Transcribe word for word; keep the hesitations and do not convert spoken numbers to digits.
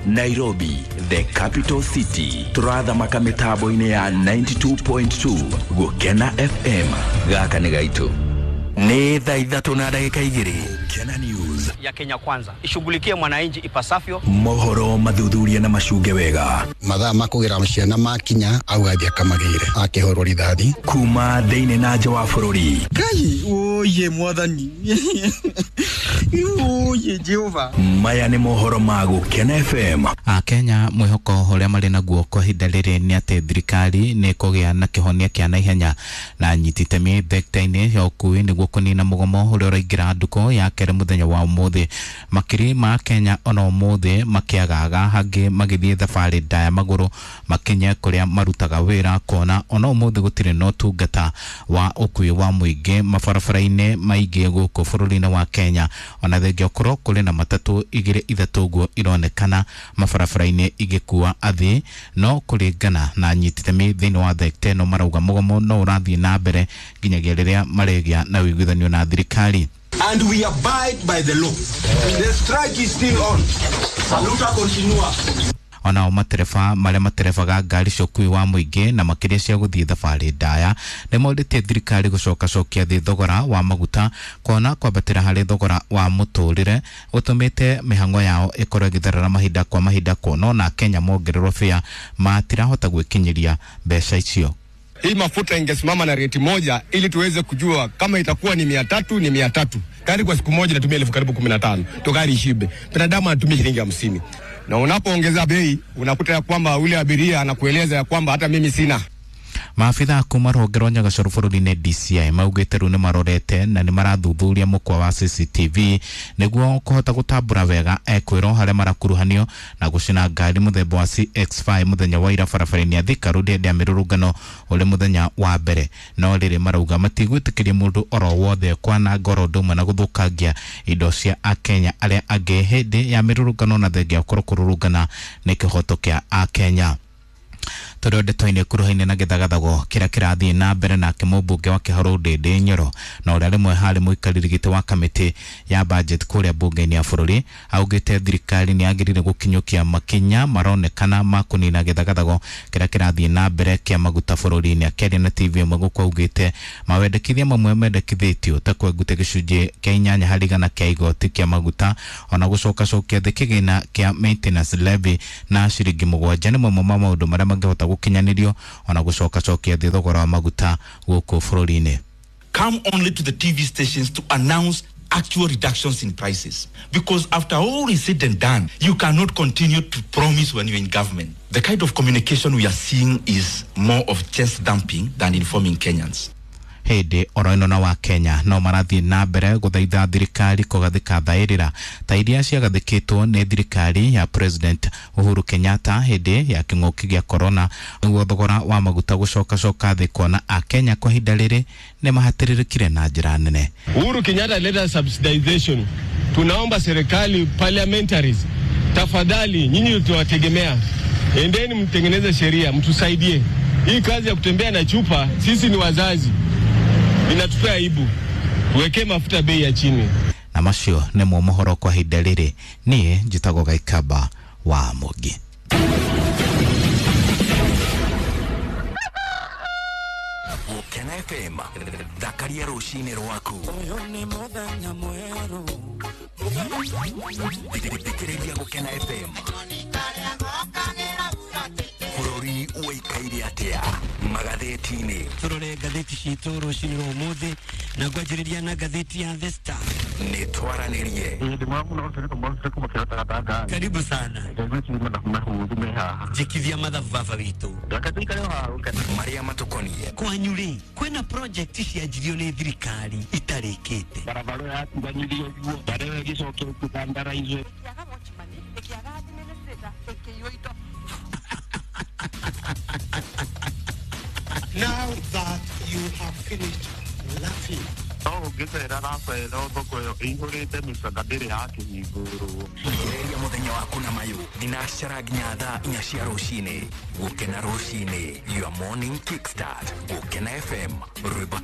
Nairobi, the capital city. Turathamaka mitambo-inĩ ya ninety-two point two Gukena F M. Gaka nĩ gaitũ. Nĩ thaa ithatũ na ndagĩka igĩrĩ. Gukena News ya Kenya Kwanza ishughulikie mwananchi ipasavyo. Mohoro mathuthuria na macunge wega. Mathaa makũgĩra ciana makinya au athiĩ akamagĩre akĩhũrwo rithathi kuma thĩinĩ na nja wa bũrũri. Ngai oye mwathani oye Jehova. Maya nĩ mohoro ma Gukena F M. Akenya mwĩhoko ũrĩa marĩ naguo kwa ihinda rĩrĩ nĩ atĩ thirikari nĩ ĩkũgĩa na kĩhonia kĩa naihenya na nyiti itemi thekta-inĩ ya ũkui nĩguo kũnina mũgomo ũrĩa ũraingĩra nduko ya kerĩ mũthenya wa ũmũthĩ. Makiri ma Kenya ona ũmũthĩ makĩagaga hangĩ magĩthiĩ thabarĩ ndaya magũrũ makinye kũrĩa marutaga wĩra kuona ona ũmũthĩ gũtirĩ na ũtungata wa ũkui wa mũingĩ mabarabara-inĩ maingĩ gũkũ bũrũri-inĩ wa Kenya. Ona thengia ũkorwo kũrĩ na matatũ igĩrĩ ithatũ ũguo ironekana mabarabara-inĩ igĩkua athii, no kũringana na anyiti itemi thĩinĩ wa thekta ĩno marauga mũgomo no ũrathiĩ na mbere nginyagia rĩrĩa marĩgĩa na ũiguithanio na thirikari. And we abide by the law. The strike is still on. Saluta continua. Onao matereba marĩa materebaga ngari cia ũkui wa mũingĩ na makĩria cia gũthiĩ thabarĩ ndaya nĩ morĩtie thirikari gũcokacokia thĩ thogora wa maguta kuona kwambatĩra harĩ thogora wa mũtũrĩre gũtũmĩte mĩhang'o yao ĩkorwo ĩgĩtherera mahinda kwa mahinda kuona ona Kenya mongererwo bĩa matirahota gwĩkinyĩria mbeca icio. Hii mafuta ingesimama na rate moja ili tuweze kujua kama itakuwa ni mia tatu ni mia tatu. Gari kwa siku moja inatumia elfu karibu kumi na tano. To gari ishibe. Binadamu anatumia shilingi hamsini. Na unapoongeza bei unakuta ya kwamba yule abiria anakueleza ya kwamba hata mimi sina. Maabitha kuma rũhonge rwa Nyagacoru bũrũri-inĩ D C I maugĩte rĩu nĩ marorete na nĩ marathuthuria mũkwa wa C C T V nĩguo kũhota gũtambũra wega ekwĩrwo harĩa marakuruhanio na gũcina ngari mũthemba wa C X five mũthenya wa ira barabara-inĩ ya Thika Road hĩndĩ ya mĩrũrũngano ũrĩ mũthenya wa mbere. No rĩrĩ marauga matigwĩtĩkĩria mũndũ oro wothe kwananga oro ũndũ ũmwe na gũthũkangia indo cia Akenya arĩa angĩ hĩndĩ ya mĩrũrũngano na thengia ũkorwo kũrũrũngana nĩ kĩhoto kĩa Akenya. Tondũ ndeto-inĩ kuruhaine na gĩthagathago kĩrĩa kĩrathiĩ na mbere nake mũmbunge wa Kĩharũ Ndĩndĩ Nyoro na ũrĩa rĩmwe harĩ mũikarĩri gĩtĩ wa kamĩtĩ ya budget kũrĩa mbunge-inĩ ya bũrũri augĩte thirikari nĩ yagĩrĩire gũkinyũkia makinya maronekana ma kũnina gĩthagathago kĩrĩa kĩrathiĩ na mbere kĩa maguta bũrũri-inĩ. Akĩaria na T V ĩmwe gũkũ augĩte mawendekithia mamwe mendekithĩtio ta kwenguta gĩcunjĩ kĩa inyanya harĩ igana kĩa igoti kĩa maguta ona gũcokacokia thĩ kĩgĩna kĩa maintenance levy na ciringi mũgwanja nĩ mamwe ma maũndũ marĩa mangĩhota gũkinyanĩrio ona gũcokacokia thĩ thogora wa maguta gũkũ bũrũri-inĩ. Come only to the T V stations to announce actual reductions in prices, because after all is said and done, you cannot continue to promise when you're in government. The kind of communication we are seeing is more of chest dumping than informing Kenyans. Hĩndĩ oro ĩno na wa Kenya no marathiĩ na mbere gũthaitha thirikari kũgathĩka thaĩrĩra ta iria ciagathĩkĩtwo nĩ thirikari ya President Uhuru Kenyatta hĩndĩ ya kĩng'ũki gĩa corona nĩguo thogora wa maguta gũcokacoka thĩ kuona Akenya kwa ihinda rĩrĩ nĩ mahatĩrĩrĩkire na njĩra nene. Uhuru Kenyatta alileta subsidization. Tunaomba serikali parliamentaries, tafadhali nyinyi tuwategemea, endeni mtengeneze sheria mtusaidie. Hii kazi ya kutembea na chupa, sisi ni wazazi, inatupea aibu. Tuweke mafuta bei ya chini. Na macio nĩmo mohoro kwa ihinda rĩrĩ. Niĩ njĩtagwo Gaikaba wa Mũngĩ. Gukena F M thakaria rũcinĩ rwaku. Ũyũ nĩ mũthenya mwerũ. Thikĩrĩria Gukena F M. Bũrũri ũikaire atĩa magathĩti-inĩ? Tũrore ngathĩti citũ rũcinĩ rwa ũmũthĩ na ngwanjĩrĩria na ngathĩti ya The Star. Nĩ twaranĩrie. Karibu sana. Jikithia mathabu baba witũ. Marĩa matũkoniĩ. Kwanyu rĩ, kwĩna project cianjirio nĩ thirikari itarĩkĩte. Barabara yatiganĩrio ũguo, barabara ĩgĩcoka ĩkĩthandaraizwo. Now that you have finished laughing. No ũngĩcera racera thoko ĩyo ĩihũrĩte mĩcaka ndĩrĩ yakĩhingũrwo. Ambĩrĩria mũthenya waku na mayũ thinacara nginya thaa inya cia rũcinĩ. Gũkena rũcinĩ, your morning kickstart. Gũkena F M, rwĩmbo